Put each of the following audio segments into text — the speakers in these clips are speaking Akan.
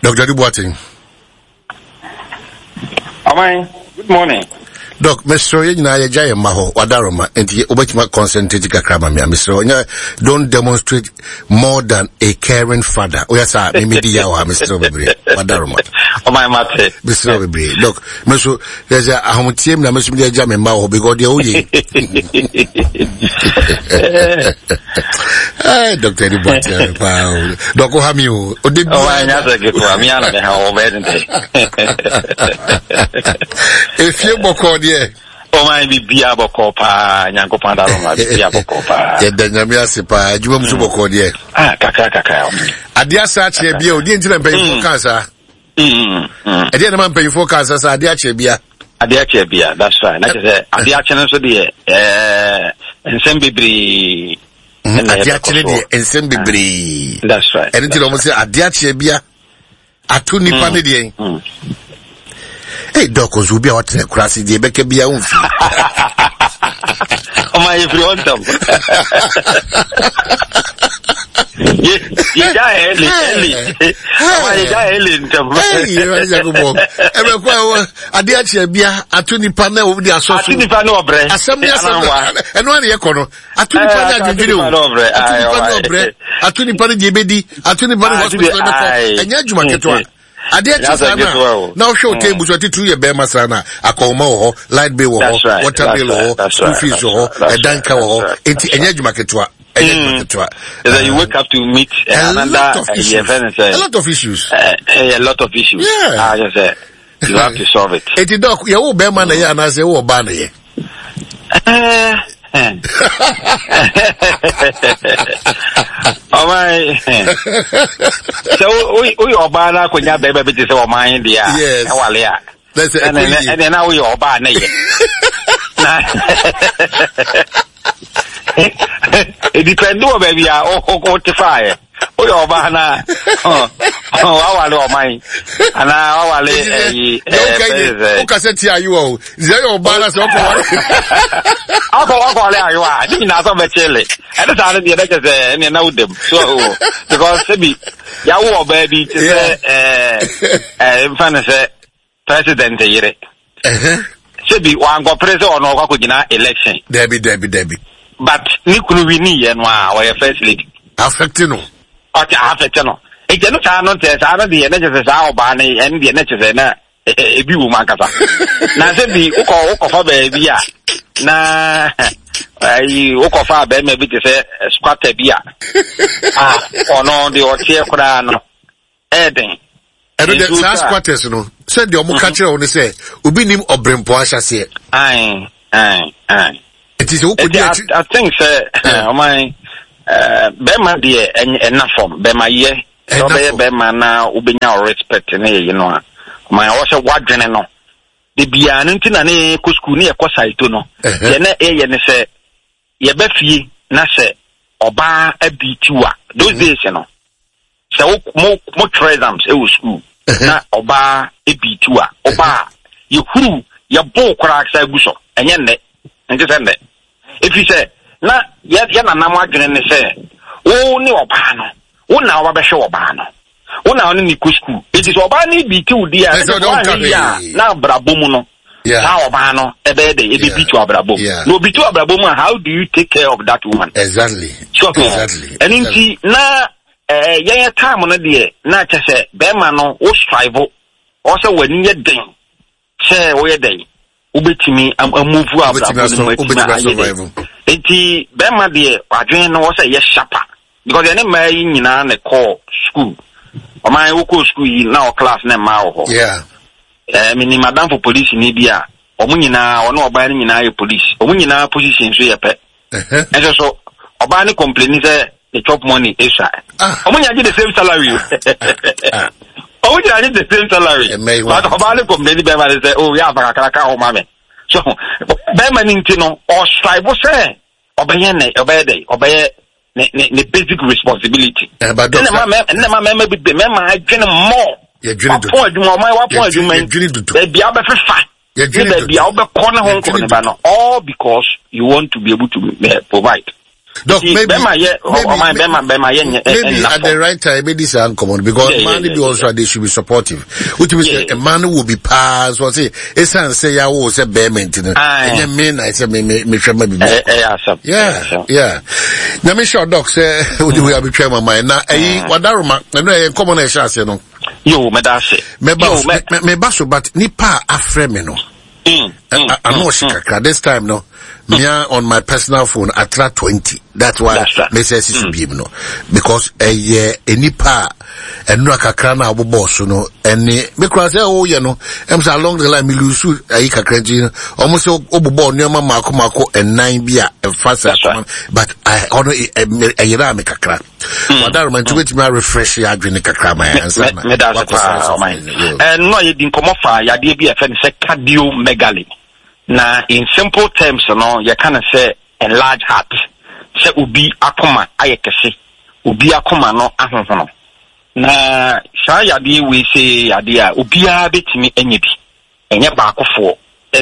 Dr. Adu Boateng. Aman, good morning. Doc, mesrɛ yɛn nyinaa yɛgya yɛn mma hɔ wadaroma nti wobɛtumi concentrate kakra ma me a mesrɛ ɔnyɛ don't demonstrate more than a caring father woyɛ saa memedi yaw ha mesrɛ bebree wadaroma ɔman mate mesrɛ bebree Doc me so yɛ sɛ ahometeɛ mu na me so mede agya me mma wɔ hɔ because deɛ woyɛ Hey, Dr. Eddie Boateng, paa o. Dɔk, ha mi o. Ode bi. Ɔwɔ anya sɛ ketewa, mi ana me ha wɔ bɛyɛ ne dɛ. Efie bɔkɔɔ deɛ. Ɔman bi bia bɔkɔɔ paa, Nyankopɔn adaro ma bi bia bɔkɔɔ paa. Yɛda Nyame ase paa, adwuma mu so mm. bɔkɔɔ deɛ. Ah, kakra kakra. Adeɛ asa akyerɛ bia o, deɛ nti na mpanyinfoɔ mm. kaa saa. Mm, Ɛdeɛ na ma mpanyinfoɔ kaa saa sɛ adeɛ akyerɛ bia. Adeɛ akyerɛ bia, that's right. Na kyerɛ sɛ adeɛ akyɛ no nso deɛ ɛɛ nsɛm bebree. Adeɛ akyerɛ deɛ nsɛm bebree. That's right. Ɛno nti na wɔn sɛ adeɛ akyerɛ bia ato nipa ne deɛ. Ee dɔk nso obi a ɔtena kura ase deɛ ɛbɛka bia ɔnfi. Ɔma yɛ firi hɔ ntɛm. Yɛgya ɛli ɛli. Ɔma yɛgya ɛli ntɛm. Ɛbɛkɔ ɛwɔ adeɛ akyerɛ bia ato nipa na wɔde asɔ so. Ato nipa ne ɔbrɛ. Asɛm ne asɛm ɛno ara na yɛkɔ no. Ato nipa ne adwendwene o. Ato nipa ne ɔbrɛ. Ato nipa ne deɛ ebedi. Ato nipa ne hospital bɛkɔ. Ɛnyɛ adwuma ketewa. Adeɛ kye saa na na wohwɛ wo table so atitiriw yɛ bɛrima saa na akɔnma wɔ hɔ light bill wɔ hɔ water bill wɔ hɔ school fees wɔ hɔ ɛdan ka wɔ hɔ eti ɛnyɛ adwuma ketewa ɛnyɛ adwuma ketewa. Is you wake up to meet a lot of issues. A lot of issues. A lot of issues. Yeah. Ah, just say you have to solve it. Eti dɔk yɛ wo bɛrima na yɛ anaasɛ wo ɔbaa na yɛ. Ɔman sɛ woyɛ ɔbaa no akɔnya bɛrima bi te sɛ ɔman deɛ a ɛwale a ɛnɛ na woyɛ ɔbaa na yɛ na ɛdipɛnde wɔ baabi a wote faeɛ woyɛ ɔbaa na wawale ɔman anaa wawale ɛyi ɛɛ wokasɛ ti ayewa o sɛ yɛ ɔbaa na sɛ ɔkɔ wale akɔ wakɔ wale ayewa a ne nyinaa sɛ ɔbɛkyele ɛne saa no deɛ ɛbɛkyɛ sɛ ɛneɛ na wodam so because sɛbi yɛawo ɔbaa bi te sɛ ɛɛ ɛɛ mfa no sɛ President yere. Sɛbi wankɔpere sɛ ɔno ɔkɔ akɔgyina election. Dabi dabi dabi. But ne kunu wini yɛ no a ɔyɛ first lady. Affect no. Ɔte affect no. Nti ɛno saa no ntɛ saa no deɛ ne kyɛ sɛ saa ɔbaa no ɛno deɛ ne kyɛ sɛ na ebi wɔ mu ankasa. Na sɛ bi wokɔ wokɔfa baabi a na ayi wokɔfa bɛrima bi te sɛ squatter bi a ɔno deɛ ɔteɛ koraa no. Ɛyɛ den. Ɛno deɛ saa squatters no sɛ deɛ ɔmo ka mhm. kyerɛ wo ne sɛ obi nim ɔbrempɔ ahyɛseɛ. Ayi ayi ayi. Nti sɛ wokɔ di akyi. I think sɛ eh. ɔman eh, bɛrima deɛ ɛna fam bɛrima yɛ sɛ ɔbɛyɛ bɛrima na wobɛnya respect ne yɛyi no a ɔman ɛwɔ sɛ woadwene no de biara no nti na ne kɔ sukuu ne yɛkɔ saito no deɛ na ɛyɛ ne sɛ yɛba fie na sɛ ɔbaa abiiti wo a those mhm. days no sɛ wo mo mo twerɛ exams ɛwɔ school na ɔbaa ebiiti wo a ɔbaa yɛhuru yɛbo koraa sɛ agu so ɛnyɛ nnɛ nte sɛ nnɛ ɛfiri sɛ na yɛ yɛ nanam adwene ne sɛ wo ne ɔbaa no wo na ɔba bɛhwɛ ɔbaa no wo na ɔne ne kɔ sukuu eti sɛ ɔbaa no bi ti wo di a ɛsɛ ɔbaa no yɛ a na abrabɔ mu no saa ɔbaa no ɛbɛyɛ dɛ ebi tu abrabɔ mu na obi tu abrabɔ mu a how do you take care of that woman. Exactly. So exactly. Ɛno nti na ɛɛ yɛn yɛ time no deɛ na kyɛ sɛ bɛrima no wo strive ɔsɛ w'ani yɛ den sɛ woyɛ dɛn wobɛtumi amuvu abrabɔ no mu atumi ayɛ dɛn nti bɛrima deɛ adwene no wɔ sɛ yɛ sharper because yɛne mmaa yi nyinaa na ɛkɔɔ school ɔman wokɔɔ school yi na ɔ class na mmaa wɔ hɔ ɛɛ menim adamfo polisini bi a wɔn nyinaa ɔne ɔbaa no nyinaa yɛ police wɔn nyinaa position nso yɛ pɛ nso so ɔbaa no complaini sɛ ne chop money esua wɔn nyinaa gye the same salary o wɔn nyinaa gye the same salary but ɔbaa no complaini bɛrima no sɛ oh yɛ afa kakra ka ho ma me so bɛrima no nti no ɔstrive sɛ ɔbɛyɛ ne ɔbɛyɛ dɛ ɔbɛyɛ ne ne ne basic responsibility ɛnna ma mɛ ɛnna ma mɛma bi mɛma adwene mɔ wapɔn adwuma ɔman wapɔn adwuma yi baabi a wobɛfefa ne baabi a wobɛkɔ ne ho nkɔ ne ba no all because you want to be able to uh, provide. Doc, Nti maybe, bɛma yɛ maybe, ɔman bɛma bɛma yɛ nyɛ maybe ɛnna at the fam. right time maybe saa nkɔmɔ no because Yeah, yeah, mmaa no yeah, bi also yeah. they should be supportive. Wotumi sɛ Yeah. mmaa no wɔ bi paa so ɔse esan sɛ yawo sɛ bɛrima nti no Aye. ɛnyɛ me na ɛsɛ me me mehwɛ ma bibi. Ɛyɛ ɛyɛ asɛm. Ɛyɛ Yeah, asɛm. yeah. Nyame hyɛ ɔdɔk sɛ wode wei abɛtwa ma man na ɛyi wadaroma ɛno ɛyɛ nkɔmɔ no ɛhyɛ aseɛ no. Yo, mɛda ase. Mɛba Yo, so, mɛ. mɛba so but nipa a afrɛ me no. Ano ɔhye kakra this time no mea on my personal phone atra 20 that's why me sɛ sisi biem no because ɛyɛ nipa a ɛnura kakra na abobɔ so no ɛne me kura sɛ ɔyɛ no ɛm sɛ along the line me lose ayi kakra nti no ɔmo sɛ ɔbobɔ nneɛma mako mako ɛnan bi a ɛfa sɛ akoma but ɔno ɛyera me kakra wadaroma nti wobɛtumi arefresh yɛ adwene kakra ma yɛ ansa na meda ase paa ɔman ɛno a yɛdi nkɔmmɔ fa yadeɛ bi a ɛfɛ no sɛ cardiomegaly na in simple terms no yɛka no sɛ enlarge heart sɛ obi akoma ayɛ kɛse obi akoma no ahohono na saa yadeɛ wei sɛ yadeɛ a obiara bɛtumi anya bi Ɛnyɛ baakofoɔ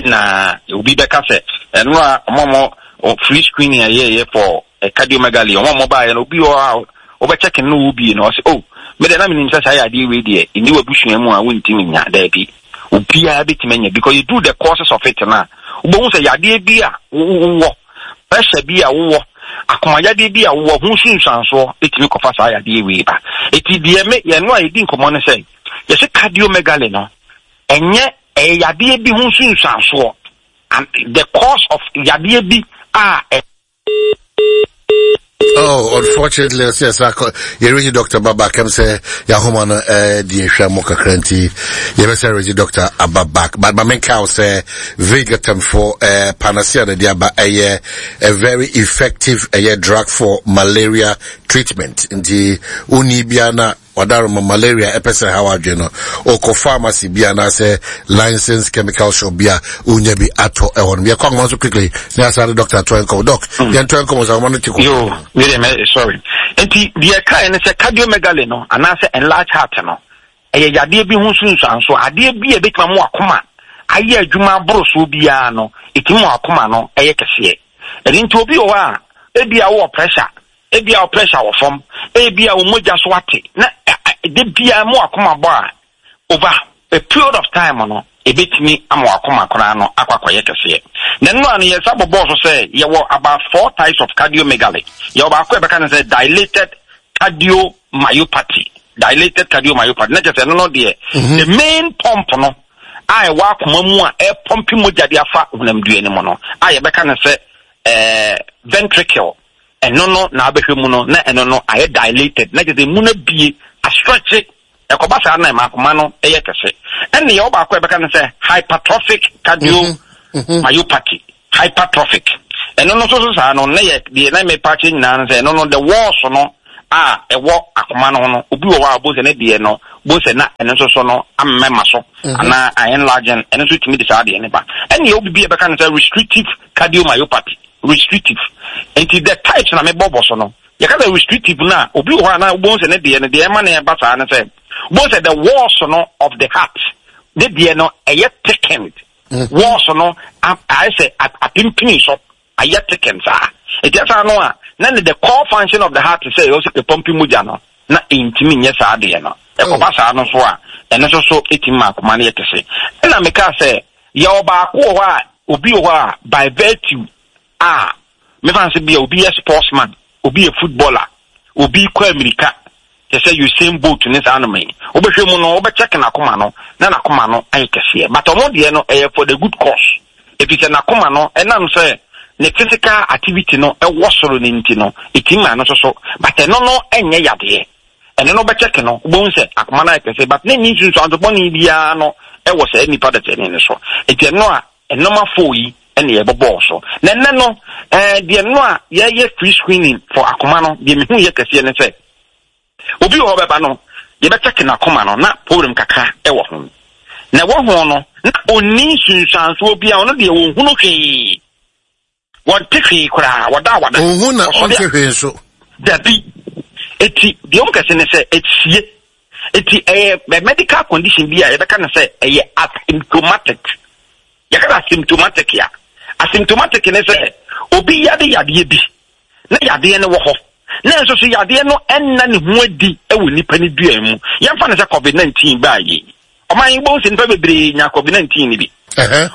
na obi bɛka sɛ ɛno a wɔn a wɔn free screening a yɛyɛ for cardiomegaly wɔn a wɔbaeɛ no obi wɔ hɔ a wobɛkyɛke no wo bie no ɔsɛ oh me deɛ na menim sɛ saa yɛ adeɛ wei deɛ ɛnni w'abusua mu a wontumi nya daabi obiara bɛtumi anya because you do the causes of it no a wobɛhu sɛ yadeɛ bi a wowɔ pressure bi a wowɔ akomayadeɛ bi a wowɔ ho nsunsuansoɔ ɛtumi kɔfa saa yadeɛ wei ba ɛti deɛ me yɛno a yɛdi nkɔmmɔ no sɛ yɛsɛ cardiomegaly no Ɛnyɛ, ɛyɛ yadeɛ bi ho nsunsuansoɔ, and the cause of yadeɛ bi a ɛ. Oh, unfortunately, ɔsɛ yɛsa kɔ yɛregye doctor ba back ɛm sɛ yɛahoma no eh, di nhwɛ mo kakra nti yɛbɛsɛ regye doctor aba back but ma menka wo sɛ vegatam for eh, panacea na de aba ɛyɛ a very effective ɛyɛ drug for malaria treatment nti wonni bia na Wadaroma malaria ɛpɛ sɛ ɛhaw adwene no, ɔkɔ pharmacy bi anaasɛ licensed chemical shop bi a wonya bi atɔ ɛhɔ nom. Yɛkɔ ahoma so quickly ne asa de doctor to nkɔmɔ. Doc, mm. yɛn to nkɔmɔ sɛ ahoma no te kɔ. Yo, wait a minute, sorry. Nti deɛ ɛkae ne sɛ cardiomegaly no anaasɛ enlarged heart no ɛyɛ yadeɛ bi ho nsunsuanso adeɛ bi a ɛbɛtumi ama wakoma ayɛ adwuma aboro soɔ biara no ɛtumi ma wakoma no ɛyɛ kɛseɛ ɛno nti obi wɔ hɔ a ebi a wowɔ pressure Ebia wo pressure wɔ fam, ebia wo mogya so ate, na da biara ma w'akoma bɔ a, over a period of time no, ebetumi ama w'akoma koraa no akɔ akɔyɛ kɛseɛ. Na ɛno a no yɛsa bɔbɔɔ so sɛ yɛwɔ about four types of cardiomegaly. Yɛwɔ baako a yɛbɛka no sɛ dilated cardiomyopathy. Dilated cardiomyopathy. Na kyerɛ sɛ ɛno no deɛ, mhm. the main pump no a ɛwɔ akoma mu a ɛpɔmpe mogya de afa honamdua no mu no a yɛbɛka no sɛ eh, ventricle Ɛno no na abɛhwɛ mu no na ɛno no ayɛ dilated na kyerɛ sɛ emu no abue, astretche. Ɛkɔba saa na ɛma akoma no yɛ kɛse. Ɛnna yɛwɔ baako a yɛbɛka no sɛ hypertrophic cardiomyopathy. Hypertrophic. Ɛno no nso so saa no na yɛ deɛ na mepa akyerɛ nyinaa no sɛ ɛno no the walls no a ɛwɔ akoma no ho no obi wɔ hɔ a wobɛhu sɛ ne deɛ no wobɛhu sɛ na ɛno nso so no amema so anaa a enlarging ɛno nso tumi de saa deɛ no ba. Ɛnna yɛwɔ biribi a yɛbɛka no sɛ restrictive cardiomyopathy. Restrictive. Nti the types na mebɔ bɔ so no, yɛka sɛ restrictive no a, obi wɔ hɔ a na wobɛhu sɛ ne deɛ no, deɛ ɛma no ɛba saa no sɛ, wobɛhu sɛ the walls no of the heart, ne deɛ no ɛyɛ thickened. Mm. Walls no ayɛ sɛ apempini so, ayɛ thickened saa. Nti ɛsaa no a, na ne the core function of the heart sɛ ɛwɔ sɛ ɛpɔmpi mogya no, na ɛntumi nyɛ saa deɛ no. Ɛkɔba oh. saa no nso a, ɛno nso so ɛtumi ma akoma no yɛ kɛse. Ɛna mekaa sɛ, Yɛwɔ baako wɔ hɔ a, obi wɔ hɔ a by virtue a mefa no sɛ bia obi yɛ sportsman, obi yɛ footballer, obi kɔ amirika te sɛ Usain Bolt ne saa noma yi. Wobɛhwɛ mu no, wobɛkyɛke n'akoma no na n'akoma no ayɛ kɛseɛ. But ɔmo deɛ no ɛyɛ for the good cause. Ɛfiri sɛ n'akoma no ɛnam sɛ ne physical activity no ɛwɔ soro no nti no, ɛtumi ma no nso so. But ɛno no ɛnyɛ yadeɛ. Ɛno no wobɛkyɛke no, wobɛhu sɛ akoma no ayɛ kɛse but na ɛnni nsunsuanso bɔne biara no wɔ saa nipa dasani no so. Nti ɛno a nnoɔma foo yi na yɛbɔbɔɔ so. Na ɛnnɛ no, eh, deɛ no a yɛyɛ free screening for akoma no, deɛ mehu yɛ kɛseɛ ne sɛ, obi wɔ hɔ bɛba no, yɛbɛkyɛke n'akoma no na problem kakra wɔ ho. Na ɛwɔ ho no, na ɔnni nsunsuansoɔ biara, ɔno deɛ ɔnhunu hwee. Wɔnte hwee koraa, wɔda a wɔada. Onhu na ɔnte hwee nso. Dabi. Eti deɛ wɔn kɛse ne sɛ esie. Eti ɛyɛ medical condition bi a yɛbɛka no sɛ ɛyɛ asymptomatic. Yɛka no asymptomatic a, asymptomatic ne sɛ obi yade yadeɛ bi. na yadeɛ no wɔ hɔ, na nso so yadeɛ no nna ne ho adi wɔ nipa no dua mu. Yɛmfa no sɛ COVID-19 baa yi. Ɔman yi wobɛhu sɛ nipa bebree nya COVID-19 no bi.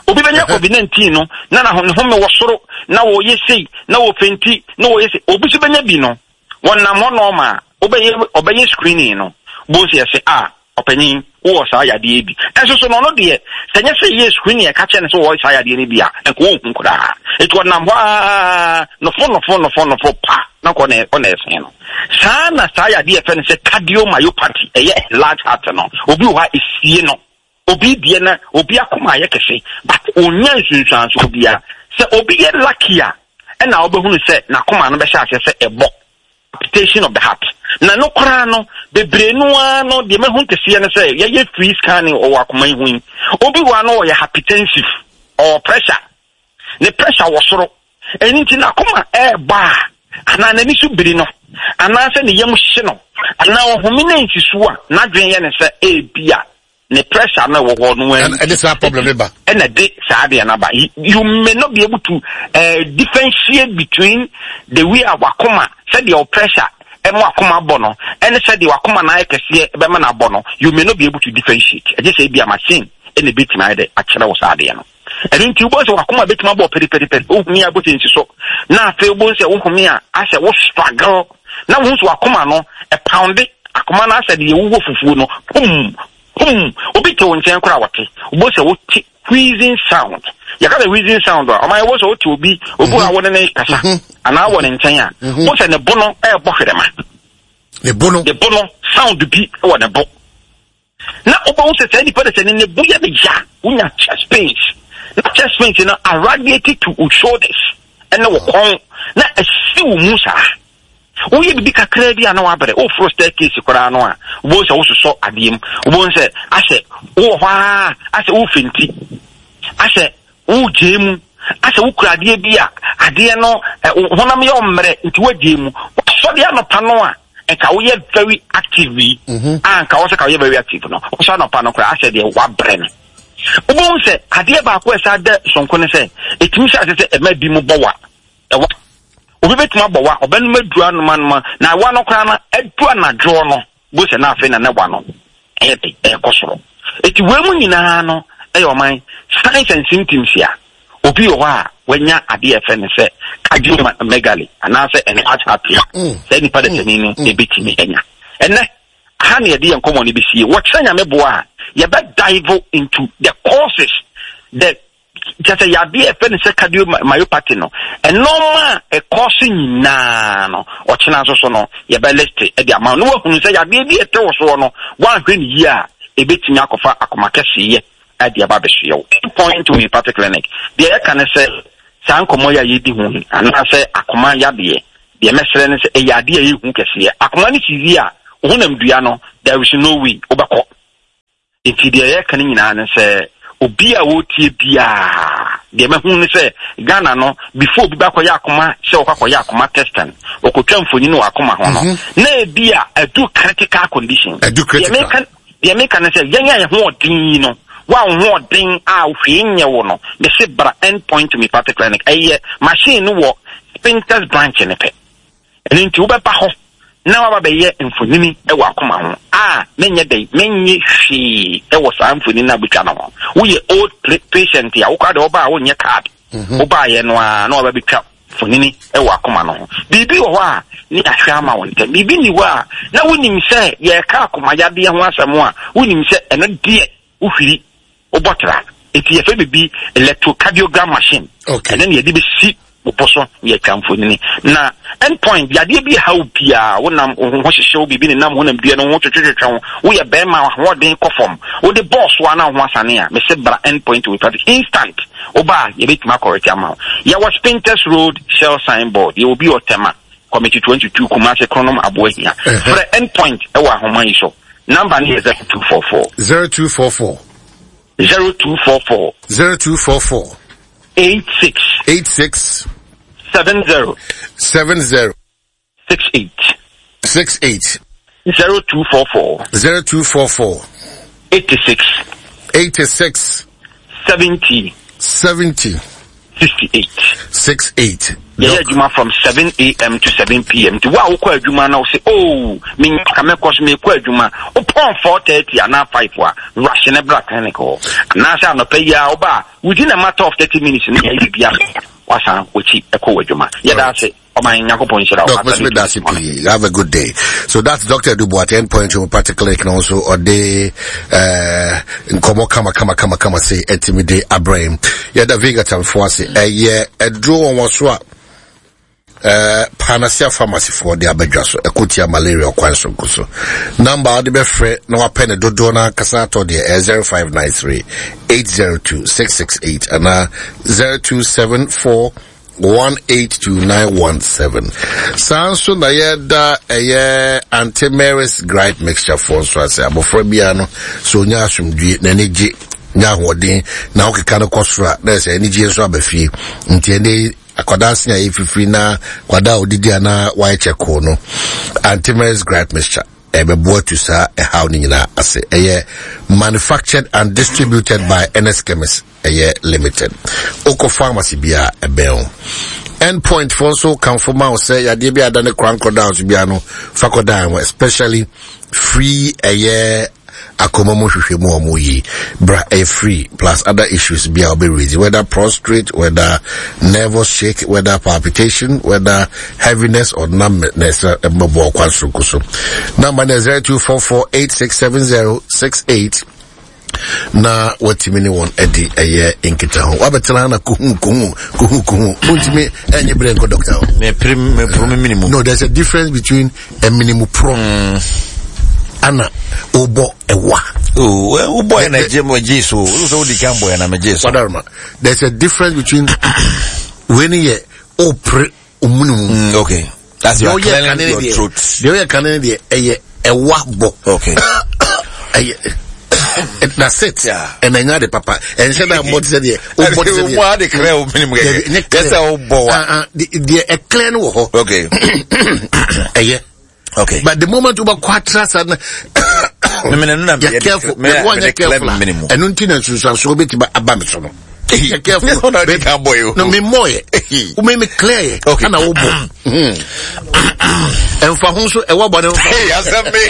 Obi bɛnya COVID-19 no na na ne home wɔ soro, na wɔyɛ sei, na wɔfɛnti, na wɔyɛ sei. Obi nso bɛnya bi no, wɔnam hɔ nɔɔma a, wobɛyɛ ɔbɛyɛ screening no, wobɛhu sɛ yɛsɛ a, ɔpanyin, wowɔ saa yadeɛ yi bi. Ɛnso so no, ɔno deɛ, sɛ nyɛ sɛ yɛyɛ screening a ɛka kyerɛ no sɛ wɔwɔ saa yadeɛ no bi a, nka ɔnhu koraa. Enti ɔnam hɔ ara, nofo nofo nofo nofo pa, na nka ɔna ɔna ɛsen no. Saa na saa yadeɛ a yɛfrɛ no sɛ cardiomyopathy, ɛyɛ enlarged heart no, obi wɔ hɔ a ɛsie no. Obi deɛ na obi akoma ayɛ kɛse, but ɔnnya nsunsuansoɔ biara. Sɛ obi yɛ lucky a, ɛna wobɛhunu sɛ n'akoma no bɛhyɛ aseɛ sɛ ɛbɔ. Palpitation of the heart. Na no koraa no, bebree no ara no, deɛ mahu kɛseɛ no sɛ yɛyɛ free scanning wɔ akoma yi ho yi, obi wɔ ha no ɔyɛ hypertensive, ɔwɔ pressure, ne pressure wɔ soro, ɛno nti n'akoma ɛrebɔ a, anaa n'ani so biri no, anaasɛ ne yam hye no, anaa ɔhome no nsi so a, n'adwene yɛ ne sɛ ebia ne pressure no ɛwɔ hɔ no ɛna ɛde saa problem no ba ɛna ɛde saa adeɛ no aba. You may not be able to differentiate between the way a wakoma, sɛdeɛ wo pressure ɛmo akoma bɔ no, ɛne sɛdeɛ wakoma no ayɛ kɛseɛ ɛbɛma no abɔ no. You may not be able to differentiate, ɛgye sɛ ebi a machine ɛna ebɛtumi ayɛ dɛ akyerɛ wo saa adeɛ no. Ɛno nti wobɛhu sɛ wakoma bɛtumi abɔ pɛripɛripɛri, wohumi a wobɛsɛ nsi so, na afei wobɛhu sɛ wohumi a asɛ wo struggle, na wohu sɛ wakoma no ɛpounde, akoma no asɛ deɛ wowɔ fufuo no pum pum. Obi te wo nkyɛn koraa wɔte, wobɛhu sɛ wote wheezing sound. Yɛka sɛ wheezing sound a, ɔma yɛwɔ sɛ wote obi obi a wo ne ne kasa anaa wɔ ne nkyɛn a, wo sɛ ne bo no ɛrebɔ hwerɛma, ne bo no ne bo no sound bi wɔ ne bo, na wobɛhu sɛ saa nipa no sɛ ne ne bo yɛ ne ya, wonya chest pains, na chest pains no aradiate to wo shoulders ɛne wo kɔn, na asi wo mu saa. Woyɛ biribi kakraa bi a na wabrɛ, woforo staircase koraa no a, wobɛhu sɛ wososɔ adeɛ mu, wobɛhu sɛ asɛ wowɔ hɔ a asɛ wofenti, asɛ wogyae mu, asɛ wokura adeɛ bi a adeɛ no honam yɛ ɔmmerɛ nti woagyae mu. Wasɔre anɔpa no a nka woyɛ very active yi, a nka wɔ sɛ ka woyɛ very active no, wosɔ anɔpa no koraa asɛ deɛ wabrɛ no. Wobɛhu sɛ adeɛ baako a ɛsa da sonko ne sɛ ɛtumi hyɛ ase sɛ ɛma bi mu bɔ wa, ɛwa. Obi bɛtumi abɔ wa, ɔbɛnom aduru anomanoma, na wa no koraa no adu anadwoɔ no, bo sɛ na afei na ne wa no ɛyɛ de ɛkɔ soro. Eti wei mu nyinaa no ɛyɛ ɔman signs and symptoms a obi wɔ hɔ a wanya adeɛ a ɛfɛ no sɛ cardiomegaly anaasɛ enlarged heart a saa nipa dasani no ebetumi anya. Ɛnɛ aha na yɛde yɛn nkɔmmɔ no bɛsie. Wɔkyerɛ Nyame boa a, yɛbɛ dive into the causes, the kyerɛ sɛ yadeɛ a ɛfɛ no sɛ cardiomyopathy no, nneɛma a ɛkɔ so nyinaa no, ɔkyena nso so no yɛbɛ list de ama wo na woahunu sɛ yadeɛ bi a ɛte wo soɔ no, woanhwɛ no yie a, ɛbɛtumi akɔfa akoma kɛseyɛ de aba abɛsoɛ wo. Point Homeopathic Clinic, deɛ yɛka ne sɛ saa nkɔmmɔ yi a yɛdi ho yi, anaasɛ akoma yadeɛ, deɛ mɛsrɛ ne sɛ ɛyɛ adeɛ a ɛyɛ hu kɛseɛ. Akoma no si yie a, wo honam dua no, there is no way wobɛkɔ. Nti deɛ yɛka no nyinaa ne sɛ obi a ɔretie biara, deɛ mahu ne sɛ Ghana no, before obi bɛakɔyɛ akoma sɛ ɔkɔ akɔyɛ akoma testing, ɔkɔtwa mfonyin wɔ akoma ho no, na ebi a adu critical condition. Adu critical. Deɛ meka deɛ meka ne sɛ yɛn a yɛn ho ɔden yi no, wo a wo ho ɔden a hwee nyɛ wo no, mese bra End Point Homeopathic Clinic. Ɛyɛ machine no wɔ Spintex branch no pɛ. Ɛno nti wobɛba hɔ na woaba bɛyɛ mfonini wɔ akoma ho a, menyɛ dɛn, mennye hwee wɔ saa mfonini no a wobɛtwa no ho. Woyɛ old patient a, wo koraa deɛ wobaa a wonyɛ card. Wobaeɛ no ara na waba bɛtwa mfonini wɔ akoma no ho. Biribi wɔ hɔ a ne yɛahwɛ ama wo ntɛm. Biribi nni hɔ a na wonim sɛ yɛreka akoma yadeɛ ho asɛm a, wonim sɛ ɛno deɛ wohwiri, wobɔ tra. Enti yɛfrɛ biribi electrocardiogram machine. Okay. Ɛno na yɛde bɛsi wo bo so na yɛatwa mfonini. Na end point, yadeɛ bi ɛha wo biara, wonam wo ho hyehye wo, biribi nenam honam dua no ho twetwetwetwe wo, woyɛ bɛrima ahoɔden kɔ fam, wode bɔɔ so a na wo ho asane a, mese bra end point homeopathic instant. Woba a yɛbɛtumi akɔrɛte ama wo. Yɛwɔ Spintex Road, Shell signboard. Yɛwɔ bi wɔ Tema, Committee 22, Kumasi, Kronom, Aboahia. Frɛ end point wɔ ahoma yi so. Number no yɛ 0244. 0244. 0244. 0244. 86. 86. 70. 70. 68. 68. 0244. 0244. 86. 86. 70. 70. 68. 68. Yɛyɛ adwuma from 7 am to 7 pm. Nti wo a wokɔ adwuma na wo se oh menya ka mɛkɔ so mekɔ adwuma. Wopɔn 4:30 anaa 5 a rush ne bra clinic hɔ. Anaasɛ anɔpa yi a woba a within a matter of 30 minutes no yɛayɛ biribi wasan wakyi ɛkɔ w'adwuma. Yɛda ase. Ɔman Nyankopɔn nhyira wo. Doc, Mr. Dasi pii. Have a good day. So that's Dr. Edu Boateng Point Homeopathic Clinic na also ɔde eh nkɔmɔ kama kama kama kama se ɛtumi de abrɛ. Yɛda Vega tamfo ase. Ɛyɛ ɛduro wɔn wɔ so a eh Panacea Pharmacy foɔ de abɛdwa so ɛko tia malaria ɔkwan soronko so. Number a wɔde bɛfrɛ na wapɛ ne dodoɔ no ankasa atɔ deɛ ɛyɛ 0593 802 668 anaa 0274 182917. Saa nso na yɛda ɛyɛ Auntie Mary's Gripe Mixture foɔ nso ase. Abɔfra biara no, sɛ ɔnya asomdwie, n'ani gye, nya ahoɔden, na wokeka no kɔ soro a, na ɛsɛ anigyeɛ nso aba fie. Nti ɛnɛ yi, akwadaa se a yɛfifiri na akwadaa a ɔdidi a na wayɛ kyɛkoo no, Auntie Mary's Gripe Mixture ɛbɛboa tu saa ɛhaw no nyinaa ase. Ɛyɛ manufactured and distributed by NS Chemist. Ɛyɛ limited. Wokɔ pharmacy bi a ɛbɛn wo. End point fo nso kamfo ma wo sɛ yadeɛ bi a ada ne korankɔ down so biara no fa kɔ dan ho, especially free ɛyɛ akoma mu hwehwɛ mu ɔmo yi bra ɛyɛ free plus other issues bi a ɔbɛ raise, whether prostrate, whether nervous shake, whether palpitation, whether heaviness or numbness, ɛbɛbɔ ɔkwan soronko so. Number no 0244867068 na watumi ne wɔn adi ɛyɛ nkitaho. Wabɛtena ha na kohu kohu kohu kohu, wontumi ɛnyɛ berɛ nkɔ dɔkta hɔ. Mepere meporo me minimu. No, there's a difference between a minimu pro ana wobɔ ɛwa. Oh, wobɔ yɛ na gye mo gye so. Wo sɛ wodi kan bɔ yɛ na megye so. Wadaroma, there's a difference between wei ne yɛ wopere omunu mu. Okay. That's your clearing your throat. Deɛ ɔyɛ kane deɛ ɛyɛ ɛwa bɔ. Okay. Ɛyɛ that's it. Ɛna ɛnya de papa. Ɛnhyɛ da mmɔ te sɛ deɛ wobɔ te sɛ deɛ. Wobɔ ade clear wo minimu kɛkɛ. Ɛnyɛ clear. Yɛ sɛ wobɔ wa. Deɛ ɛclear no wɔ hɔ. Okay. Ɛyɛ. Okay. But the moment wobɛkɔ atra saa na yɛ careful, yɛ careful a ɛno nti na nsunsuansoɔ bɛtumi aba me so no. Yɛ careful. No, me mmɔ yɛ. Wo me clear yɛ. Okay. Ana wo bɔ. Ɛnfa ho nso ɛwɔ bɔ ne nfa. Hey, asɛm mi.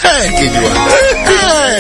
Hey, kejuwa. Hey.